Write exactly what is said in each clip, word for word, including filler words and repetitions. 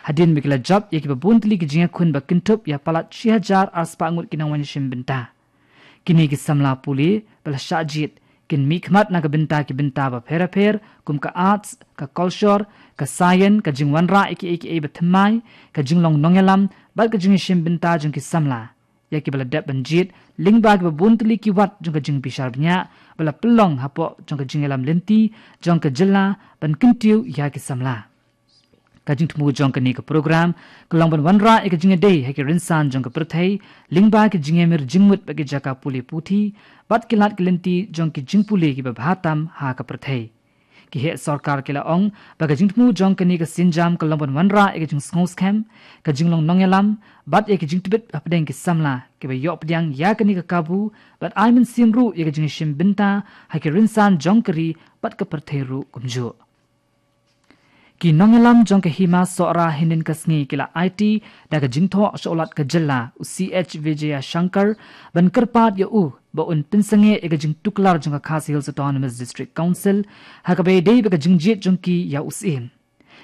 Hadien ba ki la jop ïa kiba bun tylli ki jingïakhun ba kynthup ïa palat shi hajar ar spah ngut ki nongwan ïashim bynta. Kine ki samla pule ba la shah jied kin mihkhmat na ka bynta ki bynta bapher bapher kum ka arts, ka culture, ka science, ka jingwanrah ïa kiei kiei ba thymmai, ka jinglong nongïalam bad ka jingïashim bynta jong ki samla. Ïa kiba la dep ban jied lyngba kiba bun tylli ki wat jong ka jingbishar bniah ba la pynlong hapoh jong ka jingïalam lynti jong ka jylla ban kyntiew ïa ki samla. Ka jingthmu jong kane ka program ka long ban wanrah ïa ka jingïadei ha ki rynsan jong ka pyrthei lyngba ki jingïamir jingmut bad ki jaka pule puthi bad ki lad ki lynti jong ki jingpule kiba bha tam ha ka pyrthei. Ki heh sorkar ki la ong ba ka jingthmu jong kane ka sienjam ka long ban wanrah ïa ka jingsngewskhem, ka jinglong nongïalam bad ïa ka jingtbit hapdeng ki samla kiba ïoh pdiang ïa kane ka kabu bad ai mynsiem ruh ïa ka jingïashim bynta ha ki rynsan jong ka ri bad ka pyrthei ruh kumjuh. Ki nongïalam jong ka Hima Sohra hynnin ka sngi ki la aiti da ka jingthoh sha u Lat ka jylla u C H Vijayashankar ban kyrpad ïa u ba un pynsangeh ïa ka jingtuklar jong ka Khasi Hills Autonomous District Council ha kaba ïadei bad ka jingjied jong ki ïa u Syiem.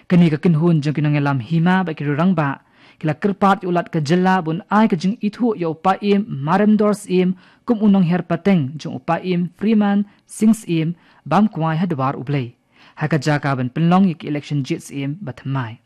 Kane ka kynhun jong ki nongïalam hima bad ki rangbah ki la kyrpad ïa u Lat ka jylla ba un ai ka jingithuh ïa u Paiem Maremdor Syiem kum u nonghiar pateng jong u Paiem Freeman Singh Syiem bam kwai ha dwar U Blei ha ka jaka ban pynlong ïa ki election jied Syiem ba thymmai.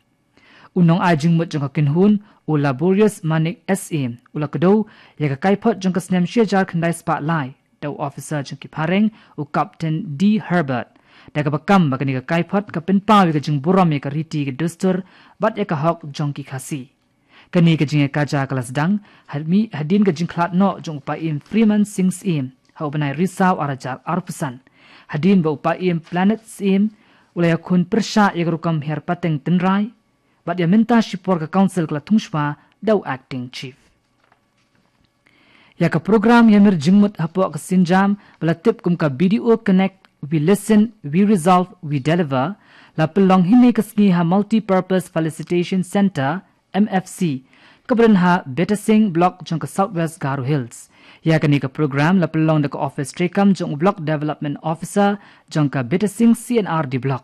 U nongai jingmut jong ka kynhun u Laborious Manik Syiem u la kdew ïa ka kaiphod jong ka snem shi hajar khyndai spah lai da u officer jong ki phareng u Captain D Herbert da kaba kam ba kane ka kaiphod ka pynpaw ïa ka jingburom ïa ka riti ka dustur bad ïa ka hok jong ki Khasi. Kane ka jingïakajia ka la sdang hadien ka jingkhlad noh jong u Paiem Freeman Singh Syiem ha u bnai Risaw ar hajar arphew san hadien ba u Paiem Planet Syiem u la ïakhun pyrshah ïa ka rukom hiar pateng tynrai bad ïa mynta shipor ka Council ka la thung shwa da u Acting Chief. Ïa ka program ïamir jingmut hapoh ka sienjam ba la tip kum ka B D O Connect, We Listen, We Resolve, We Deliver la pynlong hynne ka sngi ha Multipurpose Facilitation Centre, M F C, kaba don ha Betasing Block jong ka South West Garo Hills. Ïa kane ka program la pynlong da ka office treikam jong u Block Development Officer jong ka Betasing C and R D Block.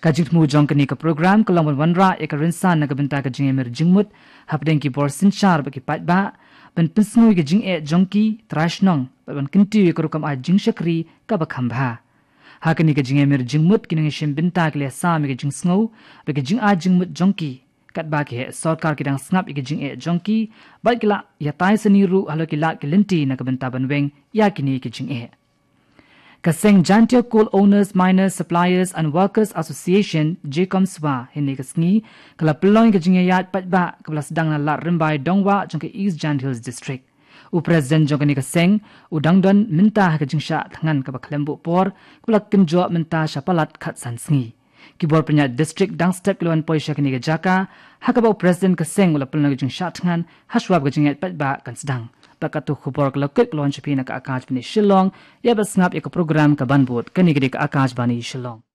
Ka jingthmu jong kane ka program ka long ban wanrah ïa ka rynsan na ka bynta ka jingïamir jingmut hapdeng ki bor synshar bad ki paidbah ban pynsngew ïa ka jingeh jong ki trai shnong bad ban kyntiew ïa ka rukom ai jingshakri kaba kham bha. Ha kane ka jingïamir jingmut ki nongïashim bynta ki la ïasam ïa ka jingsngew bad ka jingai jingmut jong ki katba ki heh sorkar ki dang sngap ïa ka jingeh jong ki bad ki la ïatai sani ruh halor ki lad ki lynti na ka bynta ban weng ïa kine ki jingeh. Ka seng Jaintia Coal Owners, Miners, Suppliers and Workers Association, JCOMSWA, hynne ka sngi ka la pynlong ïa ka jingïaid paidbah kaba la sdang na Lad Rymbai Dongwah jong ka East Jaintia Hills District. U President jong kane ka seng u dang don mynta ha ka jingshah thngan kaba khlem buh por kaba la kynjoh mynta sha palat khatsan sngi. Ki bor pynïaid district dang step ki la wan poi sha kane ka jaka ha kaba u President ka seng u la pynlong ïa ka jingshah thngan ha shwa ba ka jingïaid paidbah kan sdang. Bad katto khubor ka la kut ka la wan sha phi na ka Akashvani Shillong. Ïa ba sngap ïa ka program kaban bud, kane ka dei ka Akashvani Shillong.